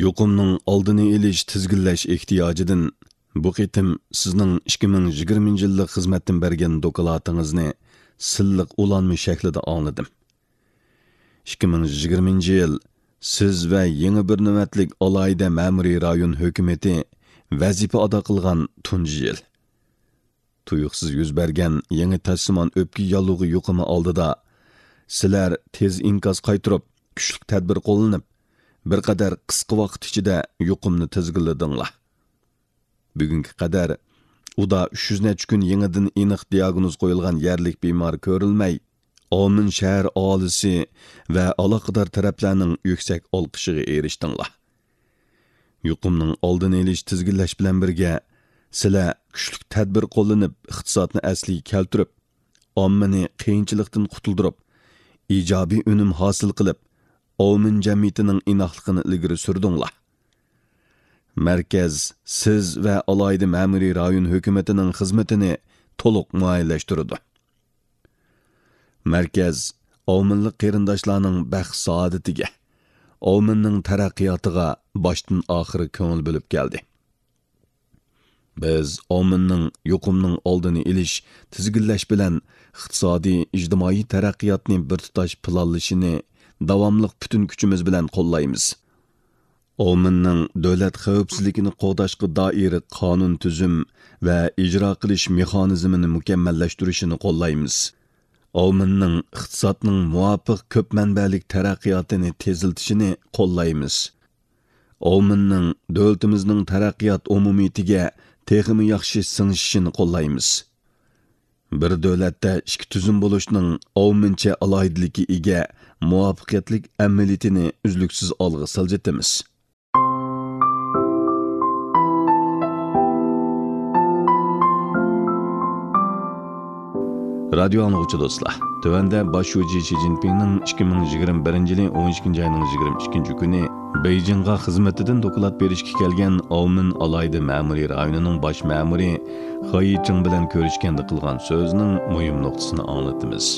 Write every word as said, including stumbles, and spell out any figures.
يۇقۇمنىڭ ئالدىنى ئېلىش، تىزگىنلەش ئېھتىياجىدىن بۇ قېتىم سىزنىڭ ئىككى مىڭ يىگىرمىنچى يىللىق خىزمەتتىن بەرگەن دوكلاتىڭىزنى سىللىق ئۇلانما شەكلىدە ئاڭلىدىم. ئىككى مىڭ يىگىرمىنچى يىل سىز ۋە يېڭى بىر نۆۋەتلىك ئالاھىدە مەمۇرىي رايون ھۆكۈمىتى ۋەزىپە ئادا قىلغان تۇنجى يىل. تۇيۇقسىز يۈز بەرگەن يېڭى تەسلىمان ئۆپكە ياللۇغى يۇقۇمى ئالدىدا سىلەر تېز ئىنكاس قايتۇرۇپ، كۈچلۈك تەدبىر قوللىنىپ، بىر قەدەر قىسقا ۋاقىت ئىچىدە يۇقۇمنى تىزگىنلىدىڭلار. بۈگۈنگە قەدەر ئۇدا ئۈچ يۈز نەچچە كۈن يېڭىدىن ئېنىق دىياگنوز قويۇلغان يەرلىك بىمار كۆرۈلمەي، ئاۋمېن شەھەر ئاھالىسى ۋە ئالاقىدار تەرەپلەرنىڭ يۈكسەك ئالقىشىغا ئېرىشتىڭلار. يۇقۇمنىڭ ئالدىنى ئېلىش، تىزگىنلەش بىلەن بىرگە، سىلەر كۈچلۈك تەدبىر قوللىنىپ، ئىقتىسادنى ئەسلىگە كەلتۈرۈپ، ئاممىنى قىيىنچىلىقتىن قۇتۇلدۇرۇپ، ئىجابىي ئۈنۈم ھاسىل قىلىپ، ئاۋمېن جەمئىيىتىنىڭ ئىناقلىقىنى ئىلگىرى سۈردۈڭلار. مەركەز سىز ۋە ئالاھىدە مەمۇرىي رايون ھۆكۈمىتىنىڭ خىزمىتىنى تولۇق مۇئەييەنلەشتۈرىدۇ. مەركەز ئاۋمېنلىق قېرىنداشلارنىڭ بەخت-سائادىتىگە، ئاۋمېننىڭ تەرەققىياتىغا باشتىن ئاخىر كۆڭۈل بۆلۈپ كەلدى. بىز ئاۋمېننىڭ يۇقۇمنىڭ ئالدىنى ئېلىش، تىزگىنلەش بىلەن ئىقتىسادىي، ئىجتىمائىي تەرەققىياتنى بىر تۇتاش پىلانلىشىنى داۋاملىق پۈتۈن كۈچىمىز بىلەن قوللايمىز. ئاۋمېننىڭ دۆلەت خەۋپسىزلىكىنى قوغداشقا دائىر قانۇن تۈزۈم ۋە ئىجرا قىلىش مېخانىزمىنى مۇكەممەللەشتۈرۈشىنى قوللايمىز. ئاۋمېننىڭ ئىقتىسادنىڭ مۇۋاپىق كۆپ مەنبەلىك تەرەققىياتىنى تېزلىتىشىنى قوللايمىز. ئاۋمېننىڭ دۆلىتىمىزنىڭ تەرەققىيات ئومۇمىيىتىگە تېخىمۇ ياخشى سىڭىشىشىنى قوللايمىز. بىر دۆلەتتە ئىككى تۈزۈم بولۇشنىڭ ئاۋمېنچە ئالاھىدىلىككە ئىگە مۇۋەپپەقىيەتلىك ئەمەلىيىتىنى ئۈزلۈكسىز ئالغا سىلجىتىمىز. رادىيو ئاڭلىغۇچى دوستلار، تۆۋەندە باش شۇجى شى جىنپىڭنىڭ ئىككى مىڭ يىگىرمە بىرىنچى يىلى ئون ئىككىنچى ئاينىڭ يىگىرمە ئىككىنچى كۈنى بېيجىڭغا خىزمىتىدىن دوكلات بېرىشكە كەلگەن ئاۋمېن ئالاھىدە مەمۇرىي رايونىنىڭ باش مەمۇرى خېي چىڭ بىلەن كۆرۈشكەندە قىلغان سۆزىنىڭ مۇھىم نۇقتىسىنى ئاڭلىتىمىز.